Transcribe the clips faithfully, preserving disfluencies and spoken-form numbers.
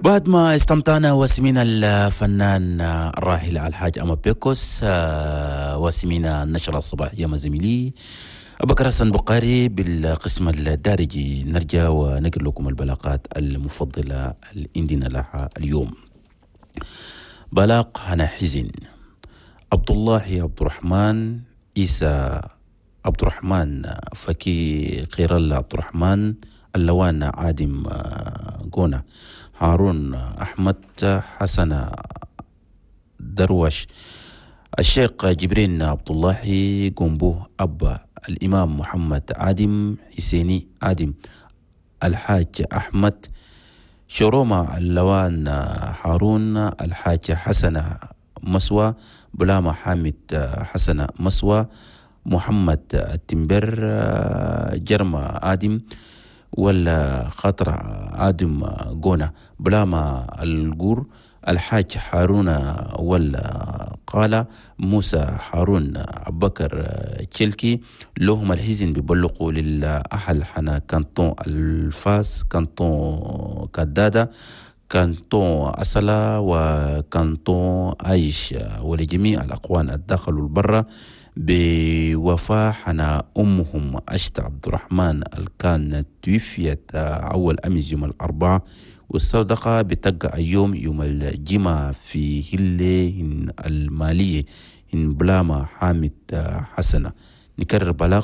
بعد ما استمتعنا وسمينا الفنان الراحل الحاج أما بيكوس، وسمينا النشرة الصباحية مع زميلي أبكر حسن بقاري بالقسم الدارجي، نرجع ونقل لكم البلاغات المفضلة اللي عندنا لها اليوم. بلاغ هنا حزن، عبد الله عبد الرحمن عيسى عبد الرحمن فكي خير الله عبد الرحمن اللوان عادم قونا هارون أحمد حسن دروش الشيخ جبرين عبد الله قنبو أبا الإمام محمد عادم حسيني عادم الحاج أحمد شروما اللوان هارون الحاج حسن مسوى بلاما حامد حسن مسوى محمد التمبر جرما آدم ولا خطر آدم قونا بلاما الجور الحاج هارون ولا قال موسى هارون أبكر تشيلكي لهم الحزن بيبلغوا للأهل حنا كانتون الفاس كانتون كدادة كانتون أسلا وكانتون عايش ولجميع الأقوان الداخل والبرة بوفاة حنا أمهم أشت عبد الرحمن الكان توفيت أول أمس يوم الأربعاء، والصدقة بتقع يوم يوم الجمعة في هلة المالية إن بلاما حامد حسنة. نكرر بلاغ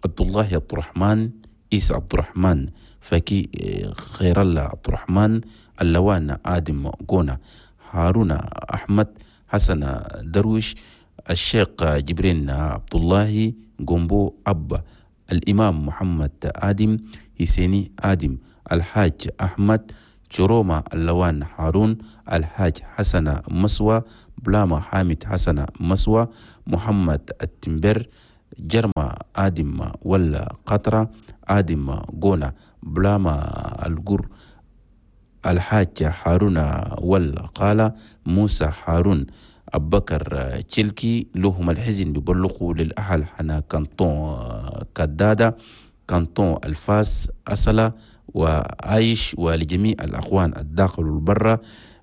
عبد الله عبد الرحمن إيس عبد الرحمن فكي خير الله عبد الرحمن اللوان آدم قونا هارون أحمد حسن درويش الشيخ جبرين عبد الله قنبو أبا الإمام محمد آدم حسيني آدم الحاج أحمد شروما اللوان هارون الحاج حسن مسوى بلاما حامد حسن مسوى محمد التمبر جرما آدم ولا قطرة آدم قونا بلاما القر الحاج هارون والقالة موسى هارون أبكر تشيلكي لهم الحزن بيبلغوا للأهل حنا كانتون كدادة كانتون الفاس أصلا وعايش ولجميع الأخوان الداخل والبرة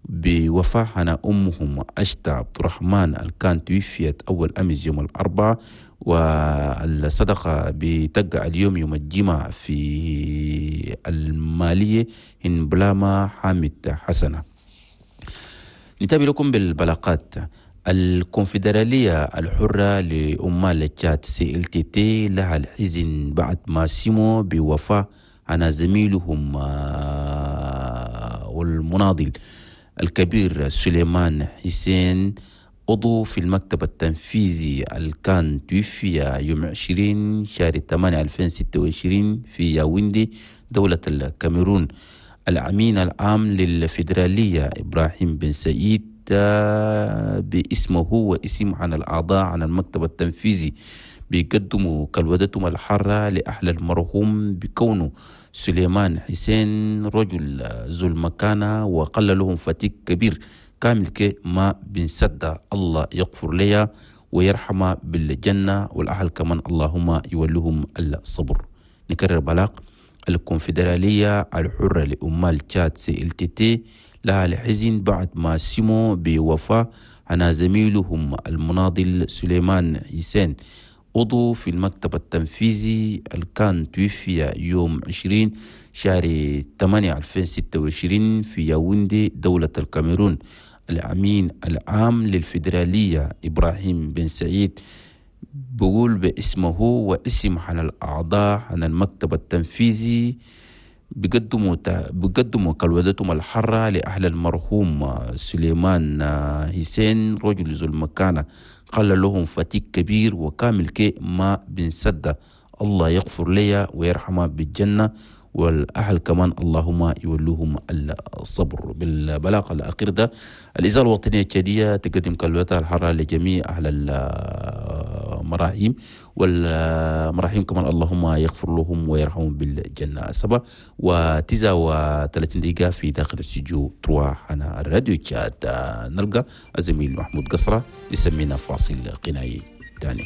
بوفاة حنا أمهم أشتا عبد الرحمن الكان توفيت أول أمس يوم الأربعاء، والصدقة بتقع اليوم يوم الجمعة في المالية إن بلاما حامد حسنة. نتابع لكم بالبلاغات. الكونفدرالية الحرة لأمال تشاد سي ال تي تي لها الحزن بعد ما سموا بوفاة عن زميلهم والمناضل الكبير سليمان حسين عضو في المكتب التنفيذي الكان توفي يوم عشرين شهر ثمانية ألفين وستة وعشرين في ياوندي دولة الكاميرون. الأمين العام للفيدرالية إبراهيم بن سعيد باسمه واسم عن الأعضاء عن المكتب التنفيذي بيقدموا كالودتهم الحارة لأهل المرحوم بكونه سليمان حسين رجل ذو المكانة وقل لهم فتيك كبير كامل ما بن سد الله يغفر لي ويرحم بالجنة والأهل كمان اللهم يولهم الصبر. نكرر بلاغ الكونفدرالية الحرة لأمال تشاد سي ال تي تي لها الحزن بعد ما سموا بوفاة عن زميلهم المناضل سليمان حسين عضو في المكتب التنفيذي الكان توفي يوم عشرين شهر ثمانية ألفين وستة وعشرين في ياوندي دولة الكاميرون. الأمين العام للفيدرالية إبراهيم بن سعيد بقول باسمه واسم عن الأعضاء عن المكتب التنفيذي بيقدموا بيقدموا كالودتهم الحرة لأهل المرحوم سليمان حسين رجل ذو المكانة قال لهم فتيك كبير وكامل كي ما بن سدة الله يغفر لي ويرحمه بالجنة والأهل كمان اللهم يولوهم الصبر. بالبلاغ الأخير ده الإذاعة الوطنية التشادية تقدم كلمتها الحارة لجميع أهل المراحيم والمراحيم كمان اللهم يغفر لهم ويرحمهم بالجنة. سبعة وتسعة وثلاثين دقيقة في داخل استوديو تروا على الراديو تشاد نلقى الزميل محمود قصرة يسمينا فاصل غنائي تاني.